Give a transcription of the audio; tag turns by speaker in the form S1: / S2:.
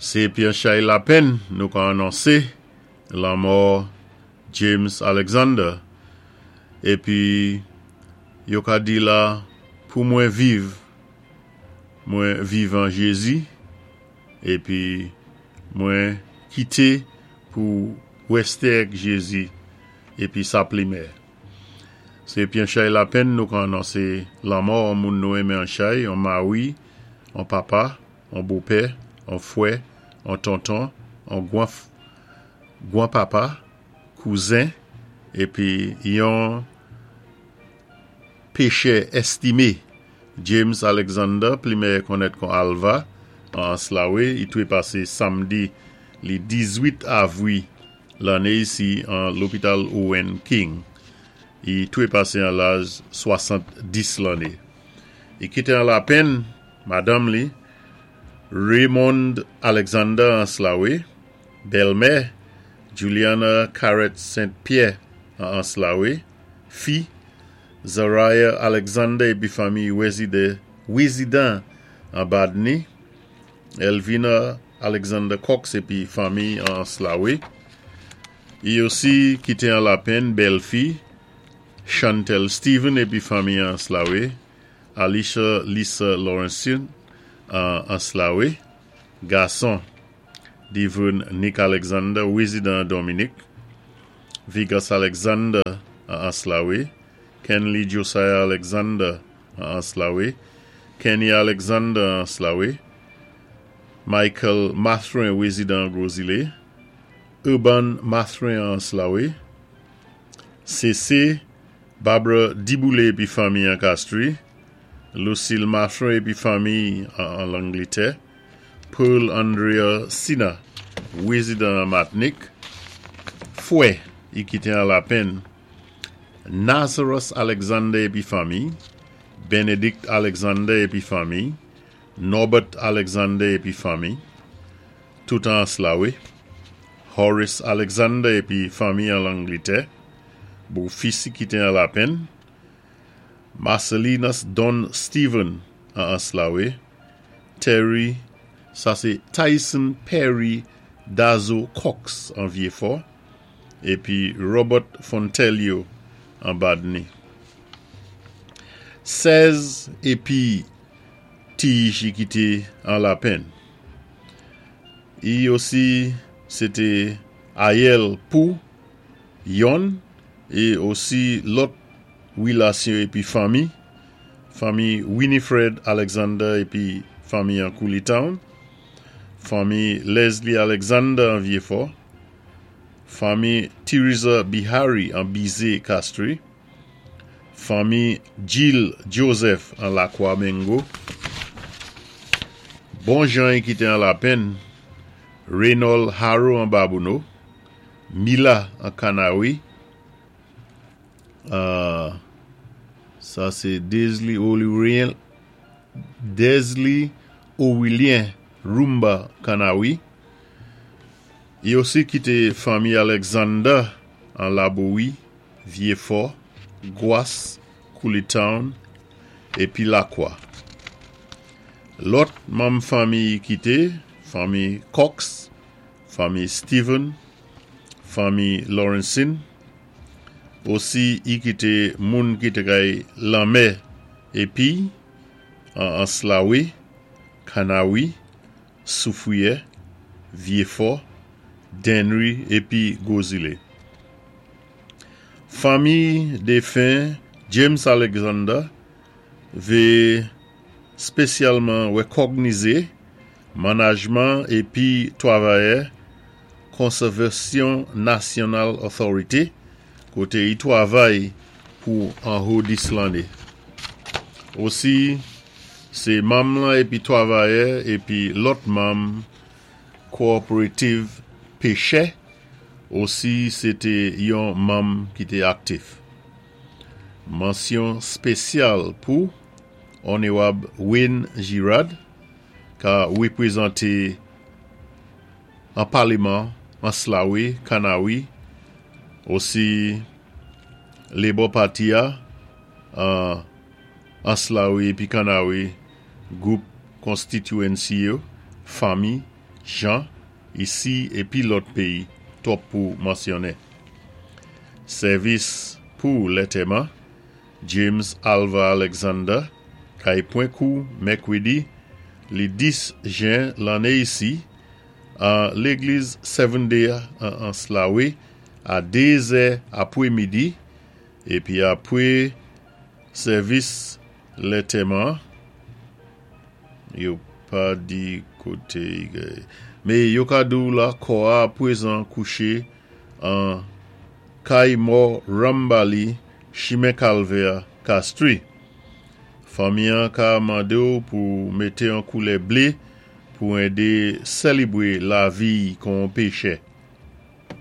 S1: Sé épi an chay lapenn nou ka anonsé lanmò James Alexander épi yo ka di la pou mwen viv mwen viv an Jézi épi mwen kité pou wèsté èk Jézi épi sa plimè. Sé épi an chay lapenn nou ka anonsé lanmò on moun nou enmen an chay, on mari, on papa, on bopè, on fwè, on tonton, on gwan papa, kouzen, épi yon péchè èstimé, James Alexander, pli mèyè konnèt kon Alva, an Anse-La-Wé, i twépasé samdi li 18 avwi lanné isi an lopital Owen King. I twépasé an laj 70 lanné. I kité an lapenn madanm li, Raymond Alexander Anse-La-Wé, bèlmè, Juliana Carrette Saint Pierre an Anse-La-Wé, fi, Zariah Alexander épi fanmi wézidan an Badni, Elvina Alexander Cox épi fanmi an Anse-La-Wé. I osi kité an lapenn bèlfi, Chantel Stephen épi fanmi an Anse-La-Wé, Alicia Lisa Lawrenson an Anse-La-Wé, gason, Divern Nick Alexander, wézidan an Dominique, Vigas Alexander an Anse-La-Wé, Kenley Josiah Alexander an Anse-La-Wé, Kenny Alexander an Anse-La-Wé, Michael Mathurin wézidan an Gros-Islet, Urban Mathurin an Anse-La-Wé, CC, Barbara Diboulé épi fanmi an Castries, Lucille Mathurin épi fanmi an Langlétè, Pearl Andrea Sina, wézidan an Matnik, fwè, i kité an lapenn, Nazarus Alexander épi fanmi, Benedict Alexander épi fanmi, Norbert Alexander épi fanmi, tout an Anse-La-Wé, Horace Alexander épi fanmi an Langlétè, bofis i kité an lapenn, Marcelinus Don Stephen an Anse-La-Wé, Terry, sa sé Tyson Perry Dazo Cox an Vieux-Fort, épi Robert Fontelio an Badni. 16 épi tij i kité an lapenn. I osi sé té ayèl pou yonn é osi lòt wilasyon épi fanmi, fanmi Winifred Alexander épi fanmi an Coulee Town, fanmi Leslie Alexander an Vieux-Fort, fanmi Theresa Bihari an Bizé Castries, fanmi Jill Joseph an Lakwa Mengo, bon jan i kité an lapenn, Reynold Harrow an Babonneau, Mila an Kanawi, sa sé Desley Olurien, Desley Orilien Rumba Kanawi, i osi kité fanmi Alexander an Labowi, Vieux-Fort, Gwas, Coulee Town, épi Lakwa. Lòt manm fanmi i kité, fanmi Cox, fanmi Stephen, fanmi Lawrenson, osi i kité moun ki té kay lanmè épi an Anse-La-Wé, Kanawi, Soufriyè, Vieux-Fort, Dennery épi Gros-Islet. Fanmi défen James Alexander vé spésyalman wékògnizé manajman épi twavayè Conservation National Authority koté i twavay pou anho 10 lanné. Osi sé manm lan épi twavayè épi lòt manm Cooperative Péchè, osi sé té yon manm ki té aktif. Mansyon spésyal pou Onewab Wayne Girard ka wépwézanté an Paleman Anse-La-Wé, Kanawi, osi Labour Party a an Anse-La-Wé épi Kanawi, gwoup constituency yo, fanmi, Jan, isi épi lòt péyi twòp pou mansyonnen. Sèvis pou lantèman James Alva Alexander kay pwan kou mèkwédi li 10 jen lanné isi an légliz Seventh Day an Anse-La-Raye a 2 zè apwé midi épi apwé sèvis lantèman yo pa di koté mé yo ka di-w la kò a pwézan kouché an kay mò Rambali chimen Kalvè Castries. Fanmi an ka mandé-w pou mété an koulè blé pou édé sélébwé lavi-y kon pechè.